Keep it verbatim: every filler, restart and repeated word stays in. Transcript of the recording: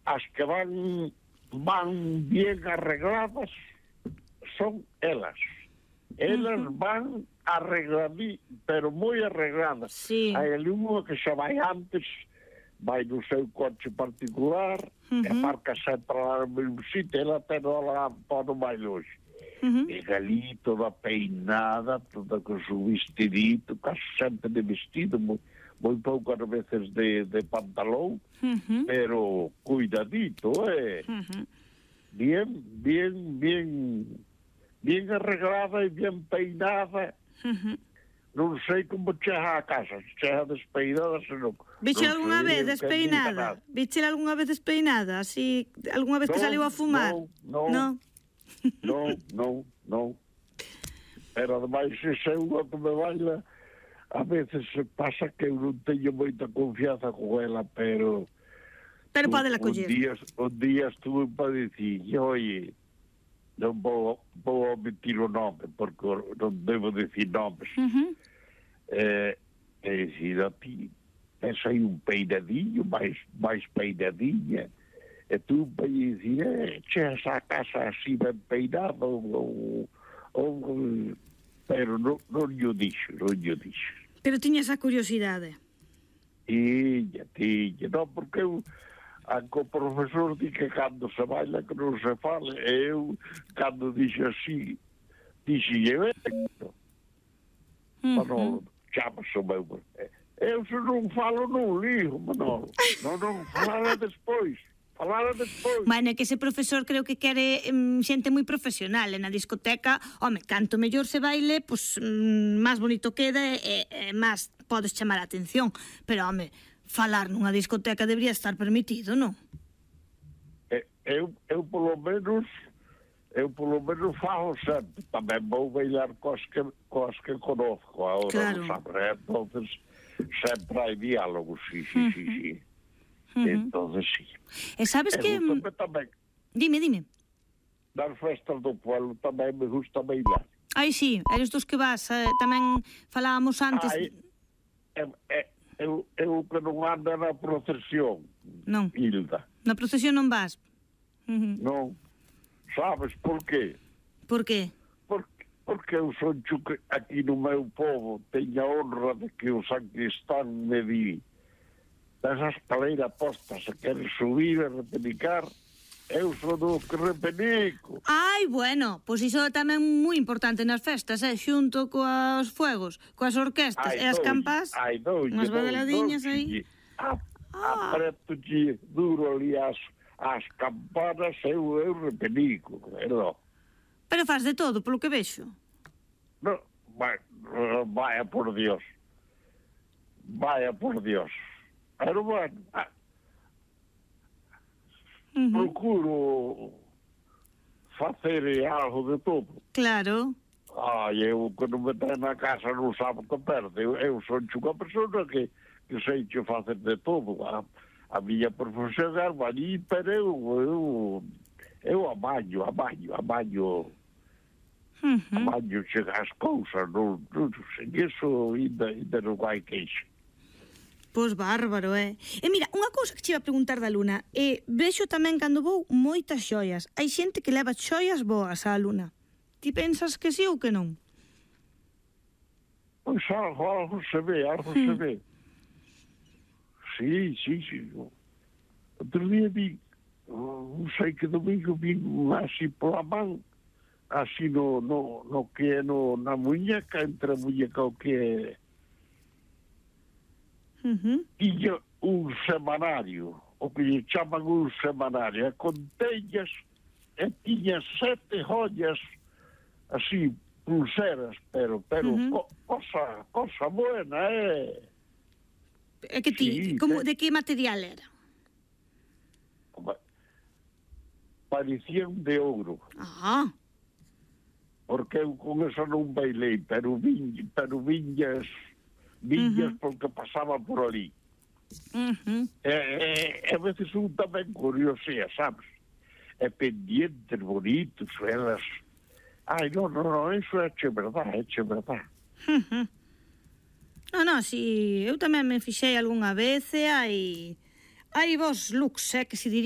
as que van van bien arregladas son elas. Elas uh-huh. van arregladí, pero moi arregladas. Sí. Hai ali unha que xa vai antes, vai no seu coche particular, uh-huh. e marca sempre lá no mesmo sitio, ela ten lá para máis longe. Uh-huh. E ali toda peinada, toda con su vestidito, casi sempre de vestido, moi, moi poucas veces de, de pantalón, uh-huh. pero cuidadito, eh? Uh-huh. Bien, bien, bien, bien arreglada e bien peinada. Uh-huh. Non sei como chega a casa, se chega despeinada, se non... Viche algunha vez despeinada? Viche algunha vez despeinada? Así, algunha vez que saliu a fumar? Non, non. Non, non, non. Pero ademais ese é unha que me baila, a veces pasa que eu non teño moita confianza con ela, pero pero pode la coller. Un día, un día estuve para dicir, oye, non vou, vou omitir o nome porque non devo dicir nomes. Uh-huh. eh, e dicir a ti, tens aí un peinadinho, máis, máis peinadinha. E tú para dicir, eh, chegas a casa así ben peinado, ou, ou, pero non, non yo dixo, non yo dixo. Pero tiña esa curiosidade. Tiña, tiña, non, porque eu, anco o profesor di que cando se baila que non se fale, e eu, cando dixo así, dixo, e vengo. Uh-huh. Manolo, chamas o meu, eu se non falo non ligo, Manolo, non, non falara despois. Falara despois. Bueno, é que ese profesor creo que quere um, xente moi profesional. E na discoteca, home, canto mellor se baile, pois um, máis bonito queda e, e máis podes chamar a atención. Pero, home, falar nunha discoteca debería estar permitido, non? Eu, eu polo menos, eu polo menos falo sempre. Tamén vou bailar cos que, cos que conozco agora, claro. Sabe? Entonces, sempre hai diálogos, sí, sí, uh-huh. sí, sí. Uh-huh. Entonces sí. E sabes que... Tamén, dime, dime. Nas festas do pueblo tamén me gusta bailar. Ai, sí, eres dos que vas, eh, tamén falábamos antes... Ai, é, é, eu, eu que non ando na procesión, non. Hilda. Na procesión non vas? Uh-huh. Non. Sabes por qué? Por qué? Porque, porque eu son que aquí no meu povo teño a honra de que o sacristán me di desa escaleira posta, se queres subir e repenicar, eu son o que repenico. Ai, bueno, pois iso é tamén moi importante nas festas, eh? Xunto coas fuegos, coas orquestas ai, e as campas, ai, doulle, unhas badaladiñas aí. Ah, apreto-lle duro ali as, as campanas, eu, eu repenico, verdad? Pero faz de todo, polo que vexo. No, vai, vaya por Dios. Vaya por Dios. Pero bueno, ah, uh-huh. procuro facer algo de todo. Claro. Ai, eu que non me ten na casa non sabe que perde. Eu, eu son unha persona que, que sei que facer de todo. A, a miña profesión é albañil, pero eu, eu, eu amaño, amaño, amaño, uh-huh. amaño chegar as cousas. Non, non sei, iso ainda, ainda non hai queixa. Pois bárbaro, é. E mira, unha cousa que che iba a preguntar da Luna, e vexo tamén cando vou moitas xoias. Hai xente que leva xoias boas á Luna. Ti pensas que sí ou que non? Pois algo, algo se ve, algo hmm. se ve. Sí, sí, sí. Outro día vi, non sei que domingo vi así pola man, así no, no, no que é no, na muñeca, entre a muñeca o que é... Uh-huh. Tiña un semanario, o que lle chaman un semanario, e con tellas, e tiña sete joyas, así, pulseras, pero, pero, uh-huh. co, cosa, cosa buena, eh? É que ti, sí, como, de que material era? Parecían de ouro. Ah. Porque eu con eso non bailei, pero vin, pero viñas... viñas uh-huh. porque pasaba por ali. Uh-huh. E, e, a veces un tamén curiosea, sabes? E pendientes bonitos, elas... Ai, non, non, non, iso é che verdad, é che verdad. Uh-huh. Non, non, si, eu tamén me fixei algunha vez e hai... hai vos looks, eh, que se diría.